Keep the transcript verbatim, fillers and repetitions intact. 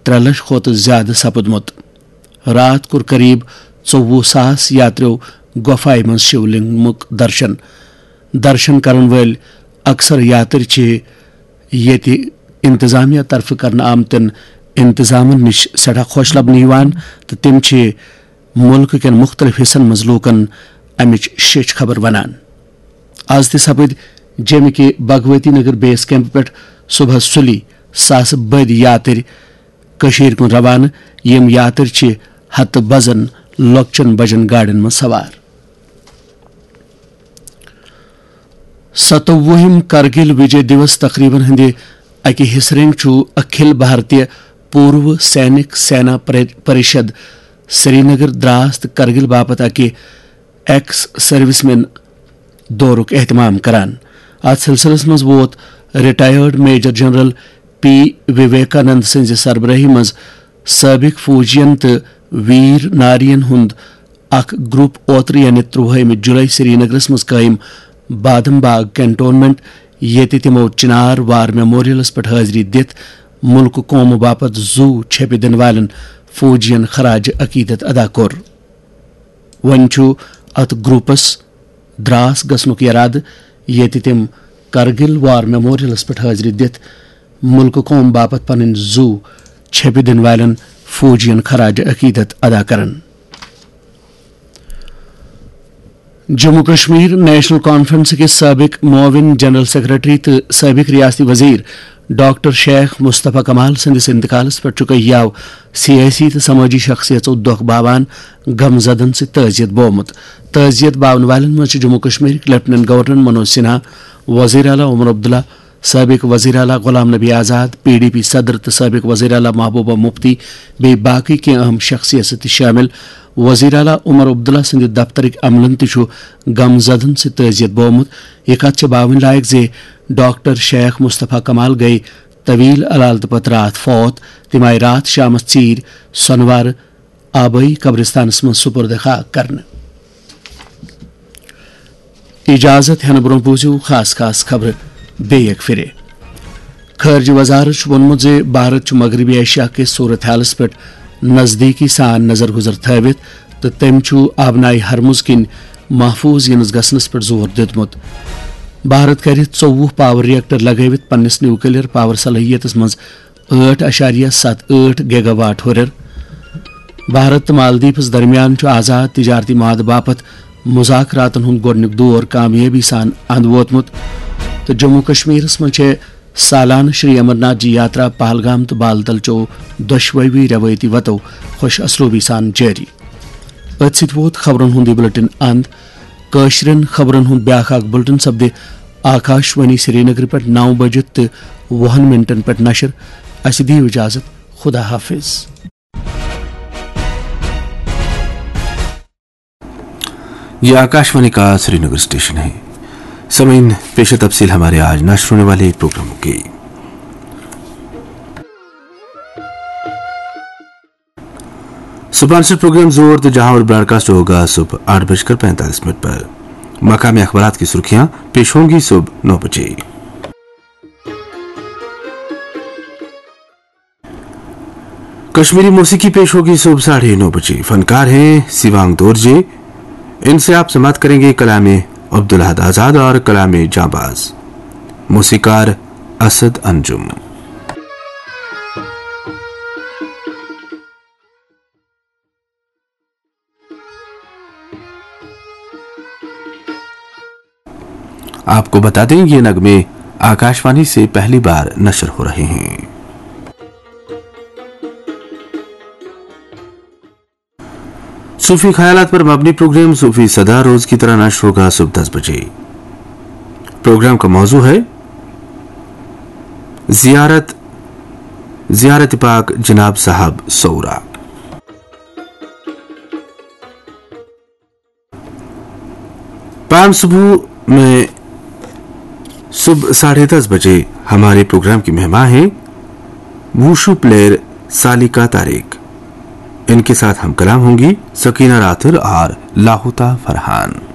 ترٛےٚ لچھ کھۄتہٕ زیادٕ سپُدمُت۔ راتھ کوٚر قریب ژوٚوُہ ساس یاتریو گۄپھایہِ منٛز شیو لنگمُک درشن۔ درشن کرن وٲلۍ اکثر یاترۍ چھِ ییٚتہِ انتظامیہ طرفہٕ کرنہٕ آمتٮ۪ن انتظامن نِش سٮ۪ٹھاہ خۄش لبنہٕ یِوان تہٕ تِم چھِ مُلکہٕ کٮ۪ن مُختٔلِف حِصن منٛز لوٗکن امِچ شیٚچھ خبر ونان۔ از تہِ سپٕدۍ جیٚمہِ کہِ بھگوتی نگر بیس کیمپ پٮ۪ٹھ صبحس سُلی ساسہٕ بٔدۍ یاترۍ کٔشیٖرِ کُن روانہٕ۔ یِم یاترۍ چھِ ہتہٕ بزن لۄکچن بجن گاڑٮ۪ن منٛز سوار۔ ستووُہِم کرگِل وِجے دیوس تقریبن ہٕنٛدِ اکہِ حصہٕ رنگۍ چھُ اکھل بھارتیہ پوٗروٕ سینک سینا پری-، پریشد سرینگر دراس تہٕ کرگِل باپتھ اکہِ ایکس سروس مین دورُک اہتمام کران۔ اتھ سلسلس منٛز ووت retired major general P Vivekanand سٕنزِ سربراہی منٛز سٲبق فوجین تہٕ ویر نارین ہُنٛد اکھ گروپ اوترٕ یعنی ترٛوہٲیمہِ جولائی سرینگرس منٛز قٲیِم بادم باغ کنٹونمنٹ، ییٚتہِ تِمو چنار وار میموریلس پٮ۪ٹھ حٲضری دِتھ مُلکہٕ قومہٕ باپتھ زُو چھیٚپہِ دِنہٕ والٮ۪ن فوجین خراج عقیدت ادا کوٚر۔ وۄنۍ چھُ اتھ گروپس دراس گژھنُک ارادٕ، ییٚتہِ تِم کرگل وار میموریلس پٮ۪ٹھ حٲضری دِتھ مُلکہٕ قوم باپتھ پنٕنۍ زُو چھیٚپہِ دِنہٕ والٮ۪ن فوجین خراج عقیدت ادا کرن۔ جموں کشمیر نیشنل کانفرنس کِس سابق معاون جنرل سیکرٹری تہٕ سابق ریاستی وزیر ڈاکٹر شیخ مصطفیٰ کمال سٕنٛدِس انتقالس پٮ۪ٹھ چھُ کٔہیاو سیٲسی تہٕ سمٲجی شخصیژو دۄکھ باوان غم زدن سۭتۍ تعزیت بومُت۔ تعزیت باون والٮ۪ن منٛز چھِ جموں کشمیرٕکۍ لیفٹیننٹ گورنر منوج سنہا، وزیر اعلیٰ عمر عبداللہ، سابق وزیر اعلیٰ غلام نبی آزاد، پی ڈی پی صدر تہٕ سابق وزیر اعلیٰ محبوبہ مفتی بیٚیہِ باقٕے کینٛہہ اہم شخصیژٕ تہِ شٲمِل۔ وزیر اعلیٰ عمر عبداللہ سٕنٛدِ دفترٕکۍ عملن تہِ چھُ غم زدن سۭتۍ تعزیت بومُت۔ یہِ کتھ چھِ باوٕنۍ لایق زِ ڈاکٹر شیخ مصطفیٰ کمال گٔیہِ طویل علالتہٕ پتہٕ راتھ فوت۔ تِم آیہِ راتھ شامس ژیٖرۍ سۄنوارٕ آبٲیی قبرستانس منٛز سپرد خاک کرنہٕ۔ اجازت ہینہٕ برونٛہہ بوٗزِو خاص خاص خبرٕ بیٚیہِ اکہِ پھِرِ۔ خارجہ وزارت چھُ ووٚنمُت زِ بھارت چھُ مغربی ایشیا کِس صورت حالس پٮ۪ٹھ نزدیکی سان نظر گزر تھٲوِتھ تہٕ تٔمۍ چھُ آبنائے ہرمز کِنۍ محفوظ یِنَس گژھنَس پٮ۪ٹھ زور دیُتمُت۔ بھارت کرِ ژوٚوُہ پاور ریکٹر لگٲوِتھ پننِس نیوکلیر پاور صلٲحیتَس منٛز ٲٹھ اعشاریہ ستھ ٲٹھ گیگا واٹ ہُرٮ۪ر۔ بھارت تہٕ مالدیپس درمیان چھُ آزاد تجارتی معاہدٕ باپتھ مذاکراتن ہُنٛد گۄڈٕنیُک دور کامیٲبی سان اند ووتمُت تہٕ جموں کشمیرس منٛز چھےٚ سالانہٕ شری امرناتھ جی یاترا پہلگام تہٕ بالتل چو دۄشوٕے روایتی وتو خوش اسلوبی سان جٲری۔ أتھۍ سۭتۍ ووت خبرن ہُنٛد یہِ بُلٹن اند۔ کٲشرٮ۪ن خبرن ہُنٛد بیٛاکھ اکھ بُلٹن سپدِ آکاش وانی سرینگر پٮ۪ٹھ نو بجہِ تہٕ وُہن منٹن پٮ۪ٹھ نشر۔ اسہِ دِیِو اجازت۔ خدا حافظ۔ یہ آکاشوانی کا سری نگر اسٹیشن ہے۔ سامعین، پیش تفصیل ہمارے آج نشر ہونے والے پروگراموں کی۔ سپانسر پروگرام زور تو جہاں اور براڈکاسٹ ہوگا صبح آٹھ بج کر پینتالیس منٹ پر۔ مقامی اخبارات کی سرخیاں پیش ہوں گی صبح نو بجے۔ کشمیری موسیقی پیش ہوگی صبح ساڑھے نو بجے۔ فنکار ہیں سیوانگ دورجے۔ ان سے آپ سماعت کریں گے کلام عبدالاحد آزاد اور کلام جانباز۔ موسیقار اسد انجم۔ آپ کو بتا دیں، یہ نغمے آکاشوانی سے پہلی بار نشر ہو رہے ہیں۔ صوفی خیالات پر مبنی پروگرام صوفی صدا روز کی طرح نشر ہوگا صبح دس بجے۔ پروگرام کا موضوع ہے زیارت، زیارت پاک جناب صاحب سورا۔ پام صبح میں صبح ساڑھے دس بجے ہمارے پروگرام کی مہمان ہیں ووشو پلیئر سالیکا طارق۔ ان کے ساتھ ہم کلام ہوں گی سکینہ راتھر اور لاہوتا فرحان۔